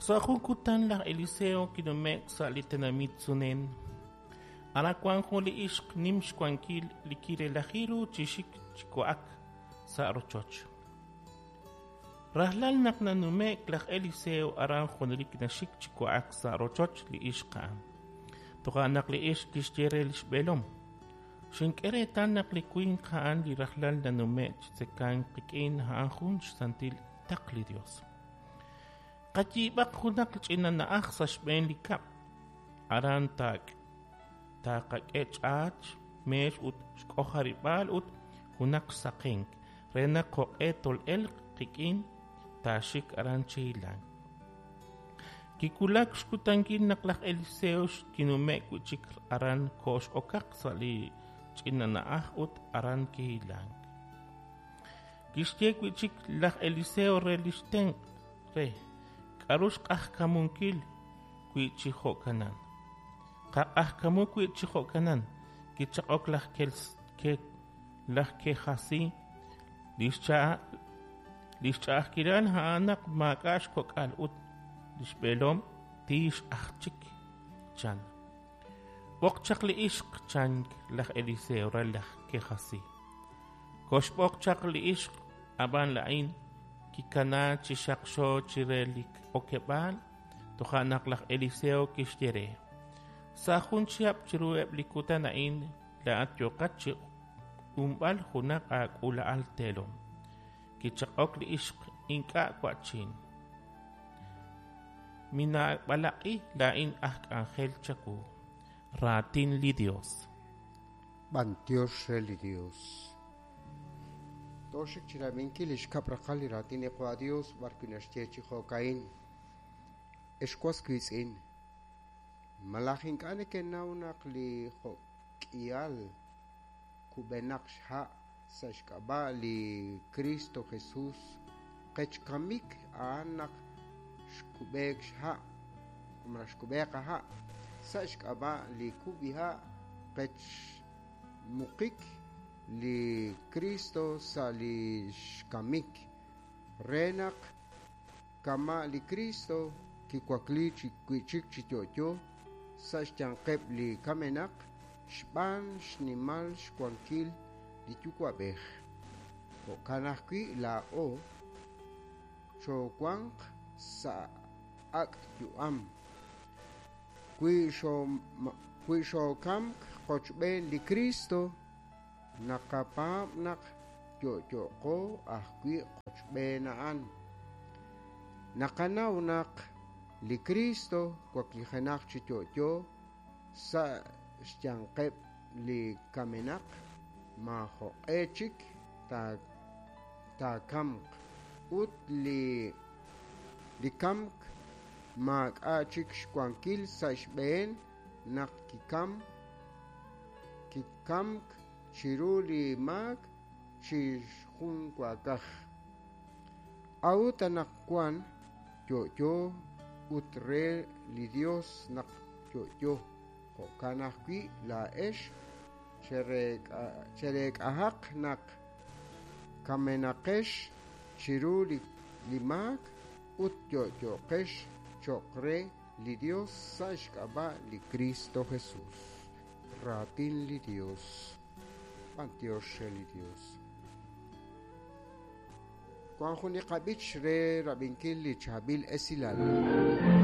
Sa' jun kutan laj Eliseo kinume'k sa' li tenamit Sunén. Aran wank jun li ixq nim xwankil li kirelaji ru chi xik chi wa'ak sa' rochoch. Rajlal naq nanume'k laj Eliseo aran junelik naxik chi wa'ak sa' rochoch li ixq a'an. Toja' naq li ixq kixye re li xb'eelom: Xink'e reetal naq li winq a'an li rajlal nanume'k chi tzekank qik'in a'an jun xsantil taql li Yos. Qayiib'aq junaq ch'ina na'aj sa' xb'een li kab'l. Aran taaqak'e ch'aat, meex ut xk'ojarib'aal ut junaq xsaqenk, re naq jo'q'e tol'elq qik'in taaxik aran chi hilank. Kiwulak xkutankil naq laj Eliseo kinume'k wi' chik aran kox'okaq sa' li ch'ina na'aj ut aran kihilank. Kixye wi' chik laj Eliseo re li xtenq' re, K'aru xq'ajkamunkil wi chi jo'kanan? Qaq'ajkamu wi' chi jo'kanan. Kichaq'ok laj laj Kejasí, Li xch'a'ajkilal a'an naq maak'a' xkok'al ut li xb'eelom tiix aj chik, chan. B'oq chaq li ixq, chan laj Eliseo re laj Kejasí. Koxb'oq chaq li ixq, ab'an laa'in kikanaak chi xaqxo chire li okeb'aal. Toja' naq laj Eliseo kixye re, Sa' jun chihab' chiruheb' li kutan a'in laa'at yooqat chi q'unb'al junaq aak'uula'al teelom. Kichaq'ok li ixq, Ink'a' wa'chin. Minaab'alaq'i laa'in aj k'anjel chawu. Raatin li Yos. B'antiox re li Dios. Tooxik chi rab'inkil li xkab' raqal li raatin li Qwa Dios b'arwi' naxye chi jo'ka'in: Ex was wiitz'in, malaj ink'a' nekenaw naq li jo'k'ihal kub'enaq xha' sa' xk'ab'a' li Kristo Jesus qech kamik a'an naq xkub'eek xha' malaj xkub'eek qaha' sa' xk'ab'a' li kub'iha' qech muqik li Kristo sa' li xkamik re naq kama' li Kristo kiwakli wi'chik chi yo'yo sa' xyanqeb' li kamenaq xb'aan xnimal xwankil li Yuwa'b'ej. Jo'kan ajwi' laa'o choowanq sa' ak' yu'am. Wi xookamk qochb'een li Kristo, naqapaab' naq yo'yo'qo ajwi' qochb'een a'an. Naqanaw naq li Kristo waklijenaq chi yo'yo sa' xyanqeb' li kamenaq, maajoq'e chik taakamq, ut li kamk maak'a' chik xwankil sa' xb'een naq kikamk chiru li maak chi junwaakaj. A'ut anaqwan yo'yo ut re li Yos naq yo'yo. Jo'kan ajwi' laa'ex chereek'ahaq naq kamenaqex chiru li maak ut yo'yoqex cho'q re li Yos sa' xk'ab'a' li Kristo Jesus. Raatin li Yos. B'antiox re li Yos. Wank jun li qab'ich re rab'inkil li chaab'il esilal.